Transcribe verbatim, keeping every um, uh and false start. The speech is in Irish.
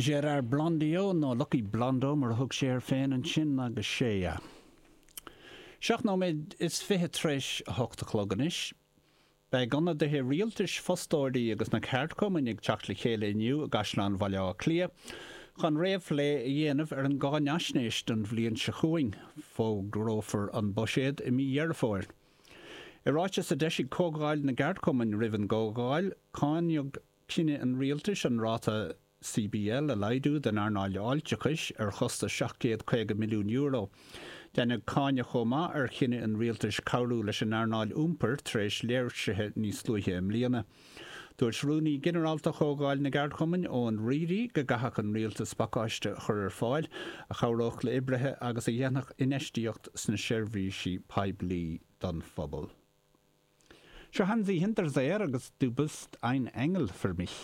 Gérard Blondiau nó Lucky Blondo mar a thug sé air féin ansin agus Shea. Seacht nóiméad is fiche tar éis a hocht a chlog anois. Beidh ionadaithe rialtais, fostóirí agus na ceardchumainn ag teacht le chéile inniu i gCaisleán Bhaile Átha Cliath chun réamhphlé a dhéanamh ar an gcáinaisnéis don bhliain seo chugainn. Fógrófar an buiséad i mí Dheireadh Fómhair. I ráiteas a d'eisigh Comhdháil na gCeardchumann roimh an gcomhdháil, cáineadh cinneadh an rialtais an ráta C B L a laghdú don earnáil fháilteachais ar chostas seacht gcéad caoga milliún euro. Deineadh cáineadh chomh maith ar chinneadh an rialtais cabhrú leis an earnáil iompair tar éis léirsithe níos luaithe i mbliana. Dúirt Rúnaí Ginearálta Chomhdháil na gCeardchumann, Eoin Reidy, go gcaithfeadh an rialtas pacáiste a chur ar fáil a chabhródh le oibrithe agus a dhéanfadh infheistíocht sna seirbhísí poiblí don phobal. Seo Hansi Hinterseer agus "Du bist ein Engel für mich".